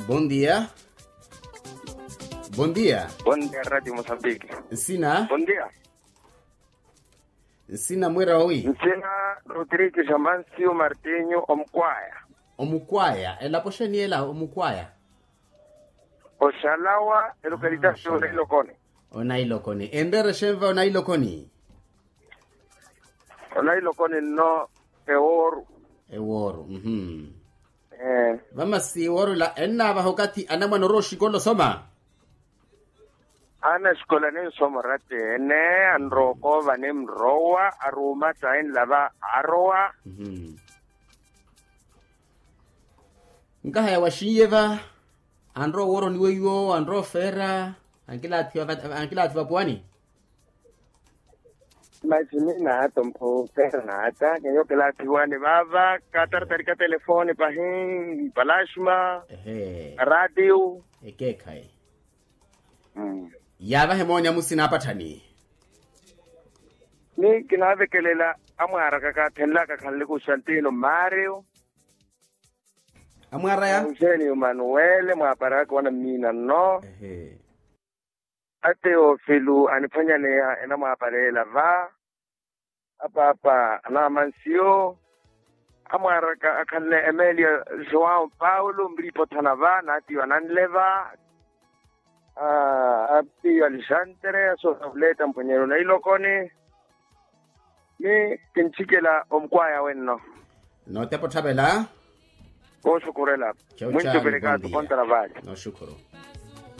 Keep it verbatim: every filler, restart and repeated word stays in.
Bondia. Bondia. Bondia radio mosambiki. Nsina. Bondia. Nsina mwira owi. Nsina rodrigo jamancio martinho omukwaya. Omukwaya elapo xeniyela omukwaya. Oxalawa elokalitaxi onailokoni. Onailokoni enreere xenva onailokoni. Onailokoni nno eworu. Eworu. Vamasi eworu ila ennaavaha okathi anamwane orowa oxikola osoma. Ana xikola ninsoma orateene anrowa okoova nimrowa aruuma tainla va arowa. Nkahaya waxinye va anrowa oworoni weiwo anrowa ofeera. Ankilaathiwa vapuwani. Masi mi naata ompho feera naata kenyokela athiwani vaava kataratari ka telefoni pahi. Palasma. Ehe. Aratiu. Ekeekhayi. Yaavahe mooni amusina apatthani. Ni kinaavekelela amwaaraka kaathenlaka khanle kustantino mario. Amwaaraya. Eugênio manuele mwaaparaka wana mmiina nno. Ateofilo aniphwanyaneya enamwaapareela va. Apaapa anaamansiyo amwaaraka akhanle emelia joão paulo mriipothana va naatiyo ananle va. Apiyo alexandre asosa vuleta mphwenyeryo nailokoni. Ni kintthikela omukwaya wenno. Nootepa otthavela. Kooxukhurela. Mwinttupelekaasu kontara vale. Nooxukhuru.